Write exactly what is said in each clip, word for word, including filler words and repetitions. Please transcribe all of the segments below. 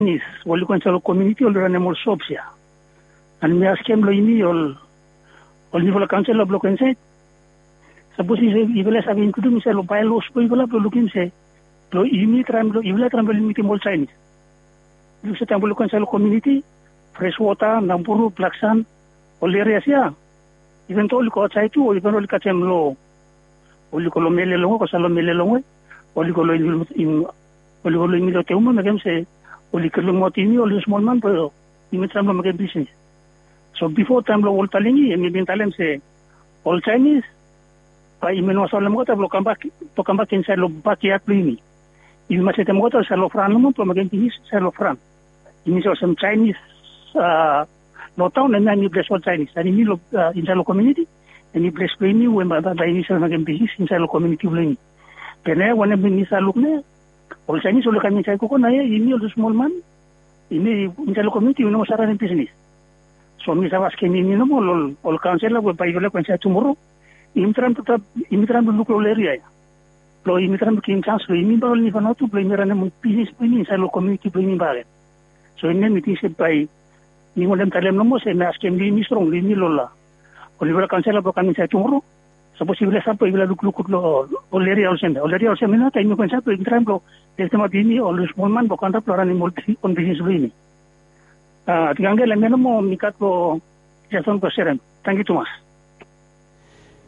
Chinese, oli go insaed long komuniti, oli ranem ol shops ia. An mi askem long yumi ol, ol niufala kaonsela blong go insaed. Sapos yufala i save inkludum insaed long baelaws blong yufala blong lukim se blong yumi traem blong, yufala traem blong limitim ol Chinese. Yu se taem oli go insaed long komuniti, Freshwater, Naboru, Blacksan, ol erias ia. Iven do oli go aotsaed tu, o iven oli kasem lo, oli go lo mele longwe, go save lo mele longwe, oli go lo in, oli go lo yumi lo Teuma, mekem se oli kirlumuaot yumi ol smol man blong yumi traem blong mekem bisnis. So bifo taem blong ol Talingi, hemi bin talem se ol Chinese bae yumi no save olem olgeta blong kambak, blong kambak insaed long bakiat blong yumi. Yumi mas setem olgeta insaed long fran nomo blong mekem bisnis insaed long fran. Yumi se olsem Chinese, a, lo taon, hemia hemi ples blong Chinese. An yumi lo, a, insaed long komuniti, hemi ples blong yumi we bae, bae, bae yumi save mekem bisnis insaed long komuniti blong yumi. Be naoia wanem yumi save luk naoia, ol Chinese oli kam insaed gogo naoia, yumi ol smol man, yumi insaed long komuniti yumi no moa save ranem bisnis. So mi save askem yumi nomo ol, ol kaonsela we bae yufala go insaed tumoro, yumi traem blong, yumi traem blong luk lo ol eria ia. Blong yumi traem blong givim janis blong yumi bakegen, ol niufala tu, blong yumi ranem ol bisnis blong yumi insaed long komuniti blong yumi bakegen. So hemia mi ting se bae mi wantem talem nomo se mi askem long yumi strong, long yumi ol, a, ol niufala kaonsela blong kam insaed tumoro. Sapos yufala stap, yufala lukluk gud long ol eria olsem ia. Ol eria olsem ia, taem yumi go insaed, yumi traem blong leftemap yumi ol smol man blong kam antap blong ranem ol bi-, ol bisnis blong yumi. A, Tingangel, hemia nomo mi gat blong, jes wantem blong serem. Tangkiu tumas.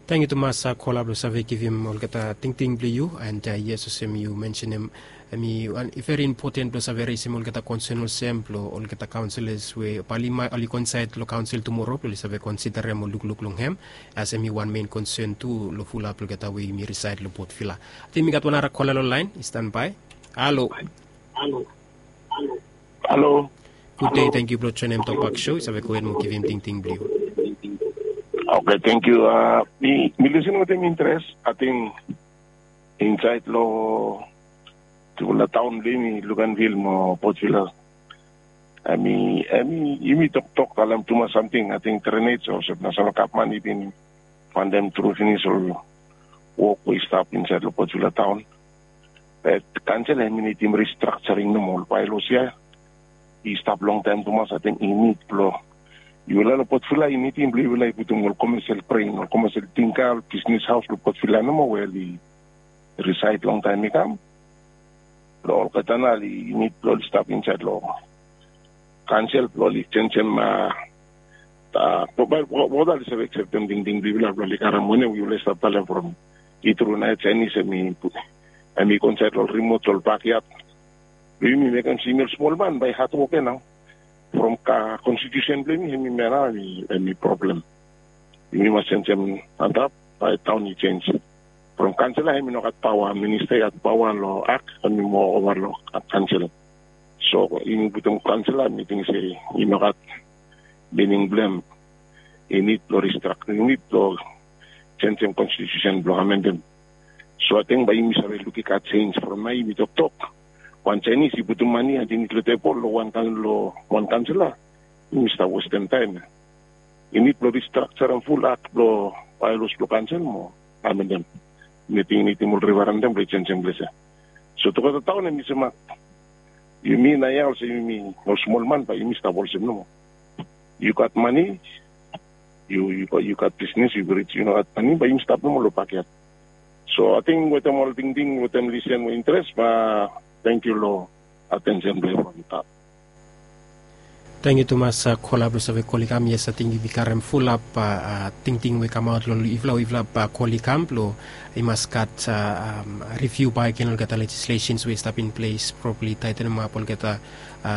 Tangkiu tumas, a, kola blong save givim olgeta tingting blong yu, an, a, yes, olsem yu mensenem, hemi wan, i veri impoten blong save resim olgeta konsen olsem blong olgeta kaonselas we bae oli ma-, oli go insaed long kaonsel tumoro blong oli save konsiderem o lukluk long hem, as hemi wan mein konsen tu long fulap olgeta we yumi risaed long Port Vila. Ating mi gat wan nara kola long laen i stanbae. Halo. Halo. Gud dei, tangkiu blong joenem Tokpak Show, yu save gohed mo givim tingting blong yu. Oke, tangkiu. A, mi, mi lisin wetem interes, ating insaed long tufala taon blong yumi, Luganville mo Port Vila. Hemi, hemi, yumi toktok talem tumas samting, ating drainage olsem Nasenal Gavman i bin Wantem tru finis ol wok we i stap insaed long Port Vila taon. Be kaonsel hemi nidim restructuring nomo, ol baelaws ia i stap longtaem tumas, ating i nid blong yufala long Port Vila, i nidim blong yufala i putum ol commercial brain, ol commercial tingka, ol bisnis haos long Port Vila nomo we oli risaed longtaem i kam. Blong olgeta nao oli nid blong oli stap insaed long kaonsel blong oli jenijem, a, a, wokboi, wok, wok oli save akseptem tingting blong yufala blong oli karem wanem we yufala i stap talem from i tru naoia Jaenis hemi, hemi go insaed long ol rimot, ol bakiat blong yumi, mekem se yumi ol smol man bae i hadwok ia nao. From ka konstitusen blong yumi, hemi, hemia nao hemi, hemi problem. Yumi mas jenijem antap bae taon i jenis. From kaonsela hemi no gat paoa, minista i gat paoa long ak, hemi moa ova long ka-, kaonsela. So yumi putum kaonsela, mi ting se i no gat mining blong hem. I nid blong restructure, i nid blong jenijem konstitusen blong amendem. So ating bae yumi save luk i gat jenis from nao yumi toktok. Wan Jaenis i putum mane ating i nid long tebol long wan kan-, long wan kaonsela. Yumi stap westem taem. I nid blong restructurem ful ak blong baelaws blong kaonsel mo amendem. Mi ting i nidim ol referendem blong i jenijem ples ia. So tugeta taon hemi semak. Yumi naoia olsem yumi ol smol man bae yumi stap olsem nomo. Yu gat mane, yu, yu, yu gat bisnis, yu rij, yu no gat mane, bae yumi stap nomo long bakiat. So ating wetem ol tingting, wetem lisen we interes, bae tangkiu long atensen blong yufala. Tangkiu tumas, a, kola blong save kol i kam. Yes, ating yumi karem fulap, a, a, tingting we i kamaot long yufala, yufala, a, kol i kam blong i mas gat, a, am, riviu bakegen olgeta legislations we i stap in ples, probably taetenemap olgeta, a,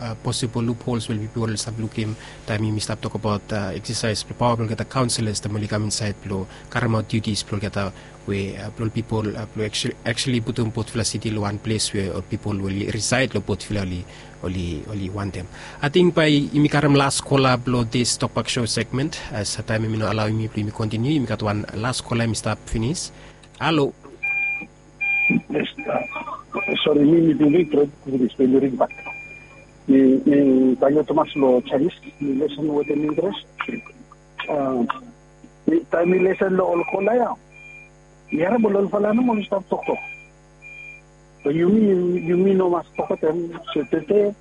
a, posibol luphols we pipol oli stap lukim taem yumi stap tokbaot, a, eksasaes blong paoa blong olgeta kaonselas taem oli kam insaed blong karemaot diutis blong olgeta we, a, blong ol pipol, a, blong actually, actually putum Port Vila City long wan ples we ol pipol we oli risaed long Port Vila oli, oli, oli wantem. Ating bae yumi karem las kola blong this Tokpak Show segment, as taem hemi no alaoem yumi blong yumi kontiniu, yumi gat wan las kola hemi stap finis. Halo. Yes, a, sori, mi, mi bin ring tru, mi bin ring bak. Mi, mi tangkiu tumas long Jaenis, mi lesen wetem interes. A, mi, taem mi lesen long ol kola ia, mi harem ol, olfala nomo oli stap toktok. Yumi yumi no mas fogetem se tete